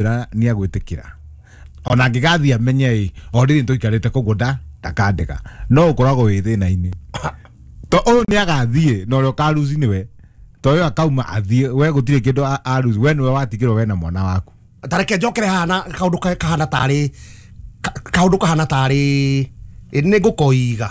Ra nĩ agwĩtĩkĩra ona angĩgathiĩ amenye ĩ already nĩtũikarĩte koguo ndakandĩka no ũkoragwo wĩ thĩna-inĩ to ũyũ nĩ agathiĩ na ũrĩa ũkaruci nĩwe to ũyũ akauma athiĩ we gũtirĩ kĩndũ aruci we nĩwe watigĩrwo we na mwana waku. Tareke njokere haha na kaũndũ kahana tarĩ kaũndũ kahana tarĩ nĩ ngũkoiga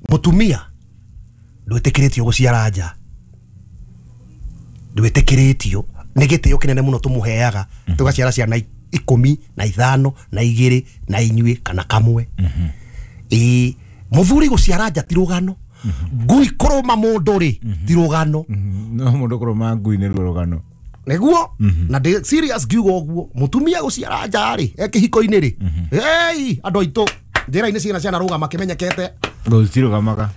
mũtumia ndwĩtĩkĩrĩtio gũciara nja, ndwĩtĩkĩrĩtio nĩ gĩtĩo kĩnene mũno tũmũheaga tũgaciara ciana 15 na 2 na inyuĩ kana kamwe. Ĩĩ mũthuri gũciara nja ti rũgano, ngui kũrũma mũndũ rĩ ti rũgano. No mũndũ kũrũma ngui nĩ ruo rũgano nĩguo. Na ndĩ serious ngiuga ũguo mũtumia gũciara nja rĩ e kĩhiko-inĩ rĩ ei andũ aitũ njĩra-inĩ ciana ciana rũgama kĩmenyekete gũcirũgamaga.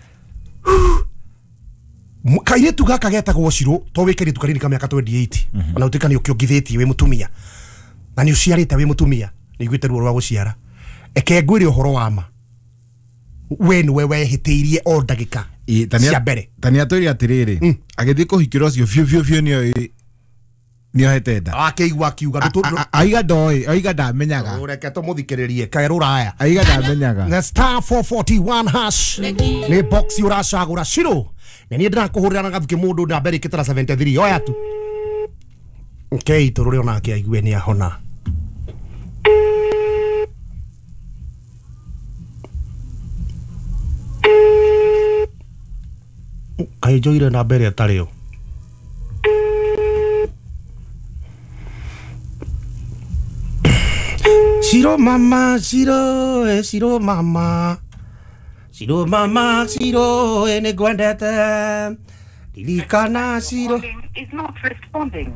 Kairĩtu gaka getagwo Shiro to wĩ kairĩtu kanini ka mĩaka 28 ona ũtuĩka nĩ ũkĩongithĩtie wĩ mũtumia na nĩ ũciarĩte wĩ mũtumia nĩ iguĩte ruo rwa gũciara. Eke ngwĩre ũhoro wa ma we nĩwe wehĩtĩirie o ndagĩka cia mbere. Ta nĩ atwĩre atĩrĩrĩ agĩthiĩ kũhikĩra ũcio biũ biũ biũ nĩoĩ nĩohete nda akĩigua akiuga aiga ndoĩ aiga ndamenyaga. Reke tũmũthikĩrĩrie kaerũraya aiga ndamenyaga. Na *441 hash nĩ box ũracagũra Shiro na niĩ ndĩrakũhũrĩra na gathukĩ mũndũ na mbere ĩkĩte na 73 oya tu okay tũrũre onake aigue nĩ ahona. Kaĩ njoire na mbere ĩtarĩ yo. Shiro mama Shiro Shiro mama Shiro mama Shiro nĩ ngwendete ririkana Shiro is not responding.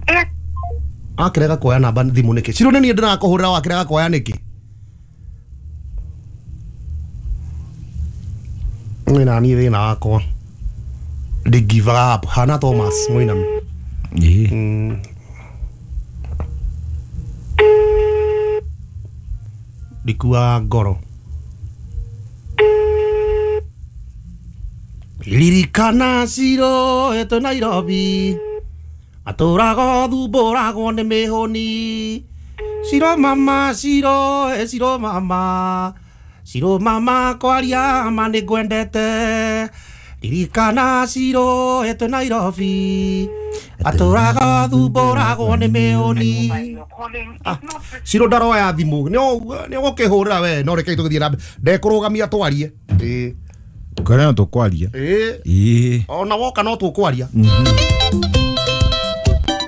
Akĩrega kuoya namba thimũ nĩkĩ? Shiro nĩ niĩ ndĩrakũhũrĩra wakĩrega kuoya nĩkĩ? Nĩ na niĩ thĩna wakwa ndĩ give up hana Thomas Mũinami. Ndikuaga ngoro ririkana Shiro ĩtũ Nairobi atũrago thumbũragwo nĩ mĩhũni Shiro mama Shiro Shiro mama Shiro mama kwaria ma nĩ ngwendete ririkana Shiro ĩtũ Nairobi atũrago thumbũragwo nĩ mĩhũni. Shiro ndaroya thimũ nĩ ũgũkĩhũrĩra we no reke tũgĩthiĩ na mbere ndekũrũgamia twarie. Ĩĩ Kũrĩa no tũkwaria. Ĩĩ ona woka no tũkwaria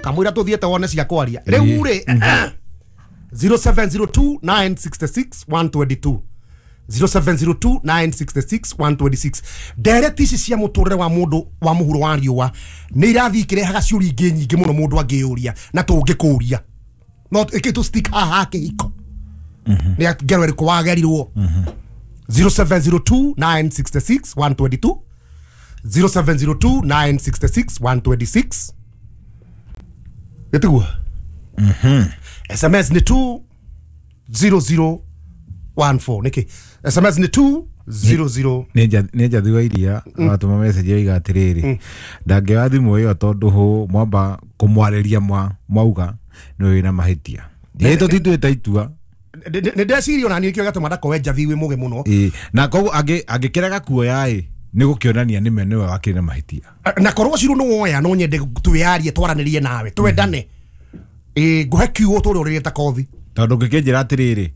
kamũira tũthiĩte wone cia kwaria rĩu rĩ 0702 966 122 0702 966 126 ndereti ici cia mũtũrĩre wa mũndũ wa mũhuro wa riũa nĩ irathiĩ ikĩrehaga ciũria ingĩ nyingĩ mũno mũndũ angĩyũria na tũngĩkũria no ĩkĩ tũ stick haha kĩhiko nĩ ngero ĩrĩkũ wagerirwo. 0702 966 122 0702 966 126 gĩtiguo. SMS nĩ 20014 nĩkĩ SMS nĩ 200 nĩ njathi wa iria watũma message oiga atĩrĩrĩ ndangĩoya thimũ ĩyo tondũ hũ mwamba kũmwarĩria mwauga nĩ wĩna mahĩtia ĩĩ tũtituĩte itua nĩ ndeciria ona niĩ kĩo gĩatũma ndakoe njathi wĩ mũgĩ mũno. Na koguo angĩkĩrega kuoya ĩ nĩ gũkĩonania nĩme nĩwe wakĩrĩ na mahĩtia na korwo Shiro nĩ woya no nyende twĩyarie twaranĩrie nawe twendane ĩ ngũhe kiugo tũrĩa ũrĩrĩte ta kothi tondũ ũngĩkĩnjĩra atĩrĩrĩ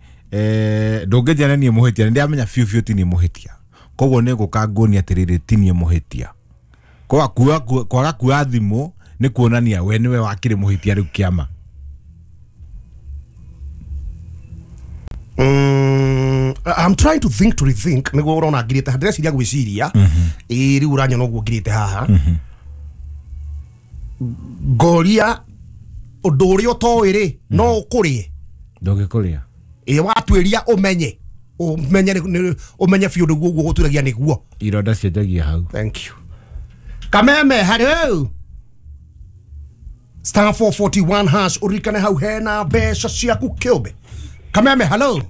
ndũngĩnjĩra nĩ niĩ mũhĩtia nĩ ndĩramenya biũ biũ ti niĩ mũhĩtia koguo nĩ ngũka nguonie atĩrĩrĩ ti niĩ mũhĩtia kwaga kuoya thimũ nĩ kuonania we nĩwe wakĩrĩ mũhĩtia rĩu kĩama. I'm trying to think to rethink nĩguo ũrona ngirĩte ndĩreciria gwĩciria ĩĩ rĩu ũranyona ũguo ngirĩte haha ngoria ũndũ ũrĩa ũtoĩ rĩ no ũkũrĩe ndũngĩkũrĩa ĩĩ watuĩria ũmenye ũmenye ũmenye biũ nĩguo ũguo gũturagia nĩguo ironda cianjagia hau. Thank you Kameme hello *441 hash ũririkane hau hena mbeca ciaku kĩũmbe. Kameme hello.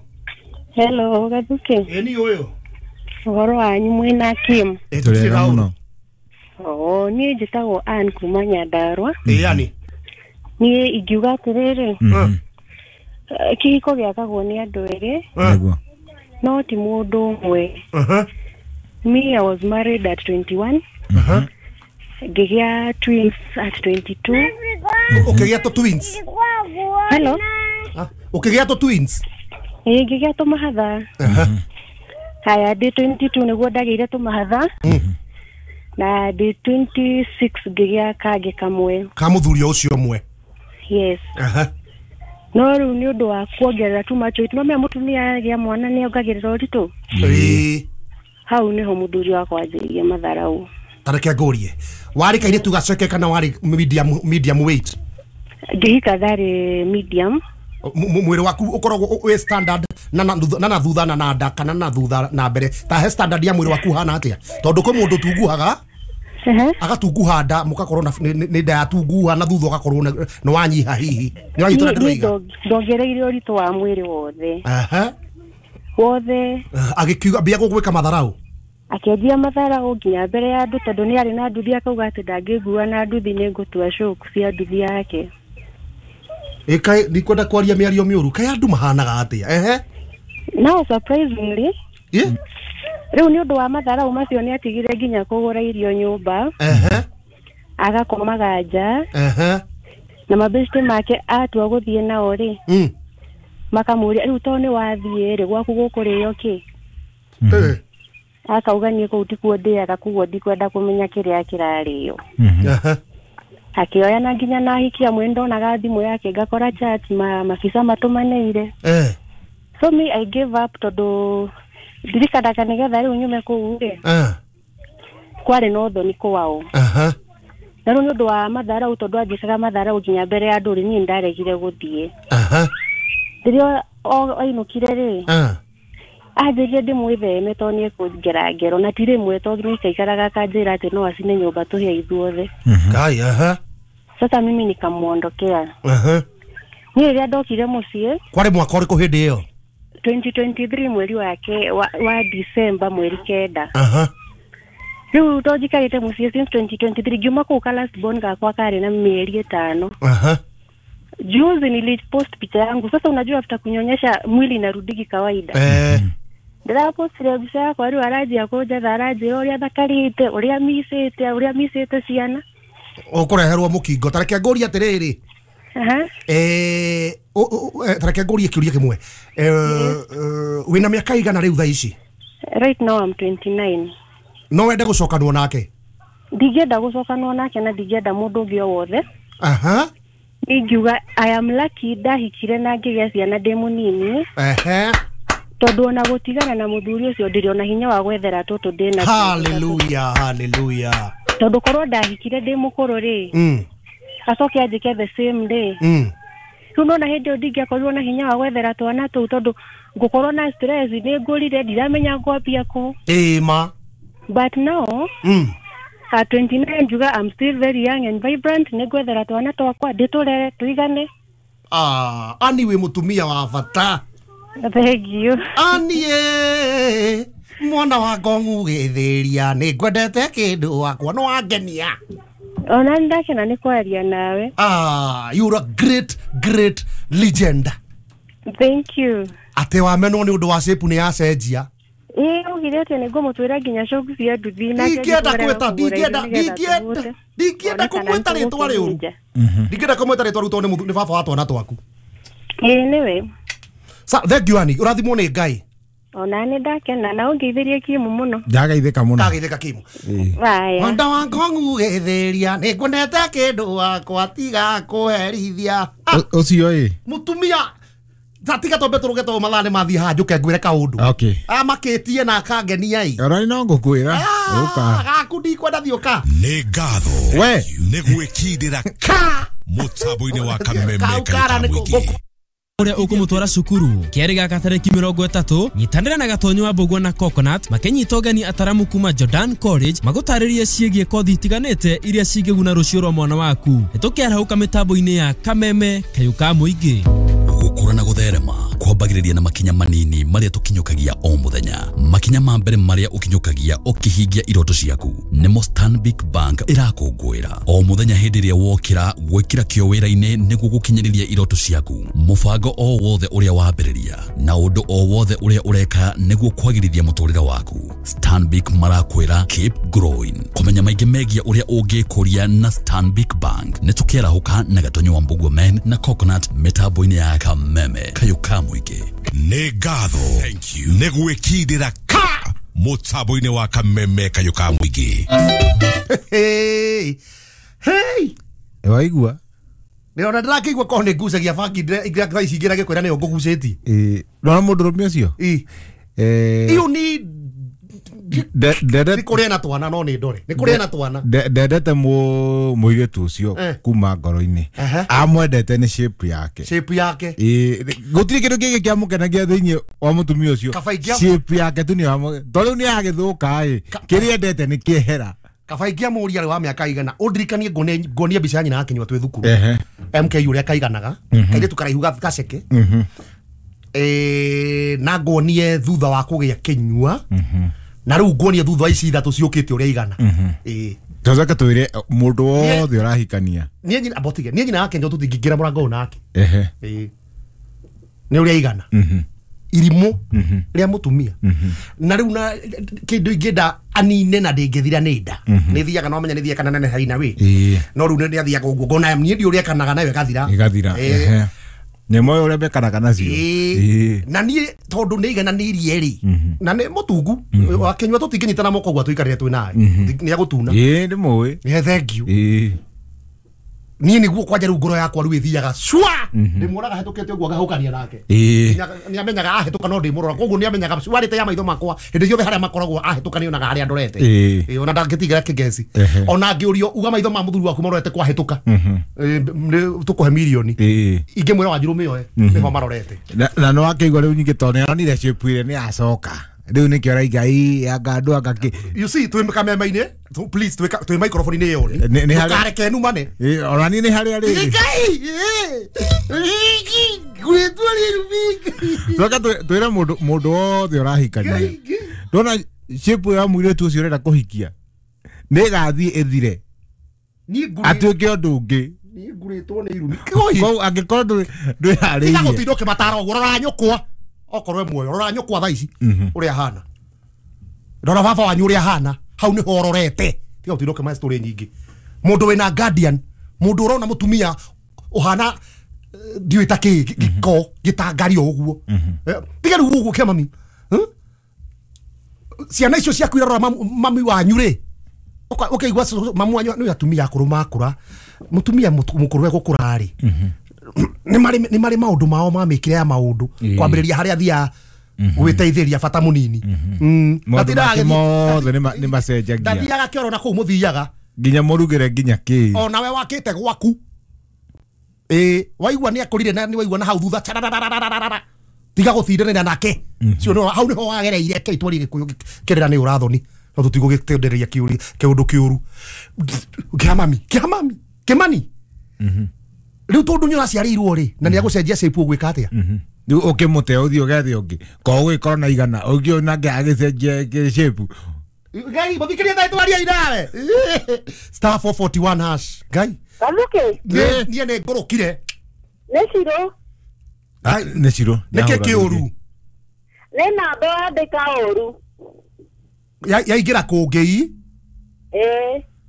Hello Gathuki. Ĩ ni ũyũ ũhoro wanyu mwĩna Kim? Tũrĩ mũno. Oh, niĩ njĩtagwo Ann kuma Nyandarua. Ĩ yani niĩ ingiuga atĩrĩrĩ Kĩhiko gĩakagwo nĩ andũ erĩ. Nĩguo. No ti mũndũ ũmwe. Me, I was married at 21. Ngĩgĩa twins at 22. Ũkĩgĩa tũ twins? Hello. Ũkĩgĩa tũ twins? Ĩĩ, ngĩgĩa tũmahatha. Haya, ndĩ 22 nĩguo ndagĩire tũmahatha. Na ndĩ 26 ngĩgĩa kangĩ kamwe. Ka mũthuri ũcio ũmwe? Yes. No rĩu nĩ ũndũ wa kuongerera too much weight. No menya mũtumia agĩa mwana nĩ ongagĩrĩra ũritũ. Ĩĩ. Hau nĩho mũthuri wakwa anjĩrĩirie matharau. Ta reke ngũrie, warĩ kairĩtu gaceke kana warĩ medium weight? Ngĩhika ndarĩ medium. Mwĩrĩ waku ũkoragwo wĩ standard na na thutha na nda kana na thutha na mbere? Ta he standard ya mwĩrĩ waku hana atĩa? Tondũ kwĩ mũndũ tunguhaga agatunguha nda mũgakorwo nĩ nda yatunguha na thutha ũgakorwo nĩ wanyiha hihi. Nĩ wanyita ũrĩa ndĩroiga? Ndongereire ũritũ wa mwĩrĩ wothe. Wothe. Agĩkiuga mbia gũgwĩka matharau? Akĩanjia matharau nginya mbere ya andũ tondũ nĩ arĩ na nduthi, akauga atĩ ndangĩngua na nduthi nĩ ngũtua coku cia nduthi yake. Ĩkaĩ ndikwenda kwaria mĩario mĩũru, kaĩ andũ mahanaga atĩa? Ehe. Now surprisingly, rĩu nĩ ũndũ wa matharau macio nĩ atigire nginya kũgũra irio nyũmba. Agakomaga nja. Na mabeshte make atua gũthiĩ nao rĩ, makamũria rĩu to nĩ wathiĩ rĩ gwaku gũkũrĩo kĩ? Akauga niĩ kũu tikuo ndĩaga, koguo ndikwenda kũmenya kĩrĩa kĩrarĩo. Akĩoya na nginya na ahiki amwe ndonaga thimũ yake ngakora chat mabisa matũmanĩire. So me, I gave up tondũ ndirikanaga nĩgetha rĩu nyume kũu rĩ, kwarĩ na ũthoni kwao. Na rĩu nĩ ũndũ wa matharau tondũ anjĩkaga matharau nginya mbere ya andũ rĩ, niĩ ndaregire gũthiĩ. Rĩrĩa ainũkire rĩ, anjĩrire ndĩmwĩtheme tondũ nĩ ekũngera ngero, na ti rĩmwe tondũ nĩ aikaikaraga akanjĩra atĩ no acine nyũmba tũhĩe ithuothe. Sasa mimi nikamuondokea. Niĩ rĩrĩa ndokire mũciĩ, Kwarĩ mwaka ũrĩkũ hĩndĩ ĩyo? 2023 mweri wake wa December mweri 9. Rĩu to njikarĩte mũciĩ since 2023, ngiuma kũu ka last born gakwa karĩ na mĩeri 5. Juzi nilipost picha yangu. Sasa unajua after kunyonyesha mwili inarudigi kawaida. Ndĩrapostire mbica yakwa rĩu aranjia kũnjetha, aranjĩra ũrĩa thakarĩte, ũrĩa micĩte, ũrĩa micĩte ciana. Ũkũreherwo mũkingo. Ta reke ngũrie atĩrĩrĩ. Ta reke ngũrie kĩũria kĩmwe. Wĩna mĩaka igana rĩu thaa ici? Right now I'm 29. No wende gũcokanwo nake? Ndingĩenda gũcokanwo nake na ndingĩenda mũndũ ũngĩ o wothe. Ingiuga I am lucky ndahikire na ngĩgĩa ciana ndĩ mũnini. Tondũ ona gũtigana na mũthuri ũcio ndirĩ ona hinya wa gwethera tũtũ ndĩ na. Hallelujah, hallelujah. Tondũ korwo ndahikire ndĩ mũkũrũ rĩ, acoke anjĩke the same day. Rĩu nona hĩndĩ ĩyo ndingĩakorirwo na hinya wa gwethera twana tũu tondũ ngũkorwo na stress, nĩ ngũrire ndiramenya ngwambia kũ. Ĩĩ ma. But now at 29 njuga I'm still very young and vibrant, nĩ ngwethera twana twakwa ndĩtũrere tũigane. Ani wĩ mũtumia wa bata. Thank you. Ani mwana wa ngongu gĩthĩria nĩ ngwendete kĩndũ wakwa no wangenia. Ona ndakena nĩ kwaria nawe. You're a great great legend. Thank you. Atĩ wamenwo nĩ ũndũ wa shape nĩ yacenjia. Ĩĩ ugire atĩ nĩ ngũmũtwĩra nginya coku cia nduthi nake. Ndingĩenda kwĩta, ndingĩenda kũmwĩta rĩtwa rĩũru. Ndingĩenda kũmwĩta rĩtwa rĩu tondũ nĩ baba wa twana twaku. Ĩĩ nĩwe. Sa thank you Ani, ũrathimwo nĩ Ngai. Ona nĩ ndakena na ũngeithĩrie Kimu mũno. Ndagaithĩka mũno. Ndagaithĩka Kimu. Haya. Wanda wa ngongu gĩthĩria nĩ ngwendete kĩndũ wakwa tiga kũherithia. Ũcio ĩ. Mũtumia tiga tombe tũrũge tondũ mathaa nĩ mathiĩ haha njũke ngwĩre kaũndũ. Okay. Amakĩtie na akangenia ĩ. Ona no ngũkwĩra. Ũka. Gaku ndikwenda thiĩ ũka. Nĩ ngatho. We. Nĩ gwĩkindĩra ka mũtambo-inĩ wa Kameme Kaukara nĩ Mũingĩ. Ũrĩa ũkũmũtwara cukuru kĩarĩ gaka tarĩki 30 nyitanĩra na Gatonyo wa Mbũgua na Coconut makĩnyita ũgeni ataramu kuma Jordan College magũtarĩrie ciĩgiĩ kothi itiganĩte iria cingĩguna rũciũ rwa mwana waku. Nĩtũkĩarahũka mĩtambo-inĩ ya Kameme kayũ ka mũingĩ. Gũkũra na gũtherema kwa Kwambagĩrĩria na makinya manini marĩa tũkinyũkagia o mũthenya. Makinya ma mbere marĩa ũkinyũkagia ũkĩhingia iroto ciaku nĩmo Stanbic Bank ĩrakũngũĩra. O mũthenya hĩndĩ ĩrĩa wokĩra gwĩkĩra kĩo wĩra-inĩ nĩguo gũkinyĩrĩria iroto ciaku. Mũbango o wothe ũrĩa wambĩrĩria na ũndũ o wothe ũrĩa ũreka nĩguo kwagĩrithia mũtũrĩre waku. Stanbic marakwĩra keep growing. Kũmenya maingĩ megiĩ ũrĩa ũngĩkũria na Stanbic Bank nĩ tũkĩarahũka na Gatonyo wa Mbugua Men na Coconut mĩtambo-inĩ ya Kameme kayũ ka mũingĩ. Nĩ ngatho nĩ gwĩkindĩra ka mũtambo-inĩ wa Kameme kayũ ka mũingĩ. Hey hey, waigua nä ndĩrakĩigua korwo nĩ ngucagia bangi thaa ici ingĩ kwĩra nĩyo ngũgucĩtie. Ndona mũndũrũme ũcio iyo ni nĩ kũrĩa na twana no nĩ ndore nĩ kũrĩa na twana. Ndendete mũirĩtu ũcio kuma ngoro-inĩ. Amwendete nĩ shape yake. Shape yake. Gũtirĩ kĩndũ kĩngĩ kĩamũkenagia thĩinĩ wa mũtumia ũcio. Shape yake tu nĩyo tondũ rĩu nĩ agĩthũka ĩ kĩrĩa endete nĩ kĩehera. Kaba ingĩamũria rĩ wa mĩaka igana ũndirikanie nguonie mbica ya nyina akĩnyua twĩ thukuru MK ũrĩa kaiganaga kairĩtu karaihu gaceke na nguonie thutha wa kũgĩa kĩnyua na rĩu nguonie thutha wa ici ithatũ ciũkĩte ũrĩa igana. Tũcoke twĩre mũndũ wothe ũrahikania niĩ nyina botige niĩ nyina akĩnyua tũtingĩingĩra mũrango ũyũ nake nĩ ũrĩa igana irimũ rĩa mũtumia na rĩu na kĩndũ ingĩenda anine na ndĩngĩthira nĩ nda nĩ thiaga no menya nĩ thiaga kana nene haina wĩ no rĩu nĩ athiaga ũguo ngona niĩ ndi ũrĩa ekanaga nayo ĩgathira ĩgathira nyamũ ũyũ ũrĩa mekanaga nacio na niĩ tondũ nĩ igananĩirie rĩ na nĩ mũtungu akĩnyua tũtingĩnyitana moko ũguo tũikarĩre twĩ nawe nĩ agũtuna. Ĩĩ nĩ mũĩ. Thank you. Niĩ nĩguo kwanja rĩu ngoro yakwa rĩu ĩthiaga cua ndĩmuonaga hetũkĩte ũguo ngahũkania nake nĩamenyaga ahĩtũka no ndĩmũrora koguo nĩamenyaga cuarĩte ya maitho makwa hĩndĩ ciothe harĩa makoragwo ahĩtũka nĩonaga harĩa ndorete ona ndangĩtigĩra kĩngeci ona ngĩũrio uga maitho ma mũthuri waku marorete kwahĩtũka tũkũhe mirioni ingĩmwĩra Wanjirũ mĩoe nĩho marorete na no akĩigua rĩu nyingĩ tondũ nĩaronire shape ĩrĩa nĩyacoka rĩu nĩkĩo araiga ĩ anga andũ anga kĩ. You see twĩ kameme-inĩ please twĩ microphone-inĩ ĩyo ndũkareke numane ona niĩ nĩ harĩa rĩrĩ Tũcoke twĩre mũndũ wothe ũrahikania ndona shape ya mũirĩtu ũcio ũrenda kũhikia nĩ ĩgathiĩ ĩthire atuĩke ũndũ ũngĩ. Niĩ ngurĩtwo nĩ irumi koguo angĩkorwo ndwĩharĩirie tiga gũtinda ũkĩmatara ũguo rora nyũkwa okorwo muoyo rora nyũkwa thaa ici ũrĩa ahana rora baba wanyu ũrĩa ahana hau nĩho ũrorete tiga gũtinda ũkĩmahe story nyingĩ mũndũ wĩna guardian mũndũ ũrona mũtumia ũhana ndiũĩ ta kĩ gĩko gĩtangario ũguo tiga rĩu ũguo kĩa mami ciana icio ciaku irarora mami wanyu rĩ ũkaigua mamu wanyu nĩ atumia akũrũ makũra mũtumia mũkũrũ egũkũra rĩ nĩ marĩ maũndũ mao ma mĩkĩre ya maũndũ kwambĩrĩria harĩa athiaga gwĩteithĩria bata mũnini maũndũ make mothe nĩ macenjagia ndathiaga kĩoro na kũu mũthiaga nginya mũrugĩre nginya kĩ onawe wakĩte gwaku waigua nĩ akũrire na nĩ waigua na hau thutha tiga gũtindanĩra nake cio hau nĩho wagereire kĩ itwari gĩkũyũ kĩrĩra nĩ ũrathoni no tũtigũgĩtendereria kĩũndũ kĩũru kĩa mami kĩa mami kĩmani rĩu tondũ nĩ ũraciarĩirwo rĩ na nĩ agũcenjia shape ũgwĩka atĩa rĩu ũkĩmũte ũthiĩ ũgethe ũngĩ ko ũgĩkorwo na igana ũngĩ nake agĩcenjia shape Ngai mũthikĩrie thaa twaria inawe star 441 hash Ngai Kaluke niĩ nĩ ngũrũkire nĩ Cirũ nĩ Cirũ nĩkĩ kĩũru nĩ namba wandĩka ũru yaingĩra kũngĩ i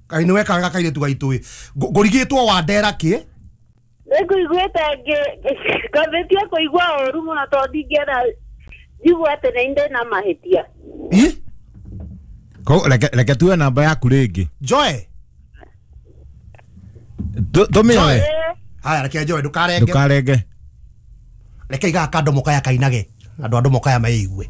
Kaĩ nĩ weka wega kairĩtu gaitũ ĩ ngũrigĩtwo Wandera kĩ nĩ ngũiguĩte ngambĩtie kũigua ũru mũno tondũ ndingĩenda njigue atĩ nĩ ndĩ na mahĩtia. Reke tuwe namba yaku rĩngĩ Joy tũmĩoe haya reke Joy ndũkarenge ndũkarenge reke igaga kandomo kaya kainage andũ a ndomo kaya meigue.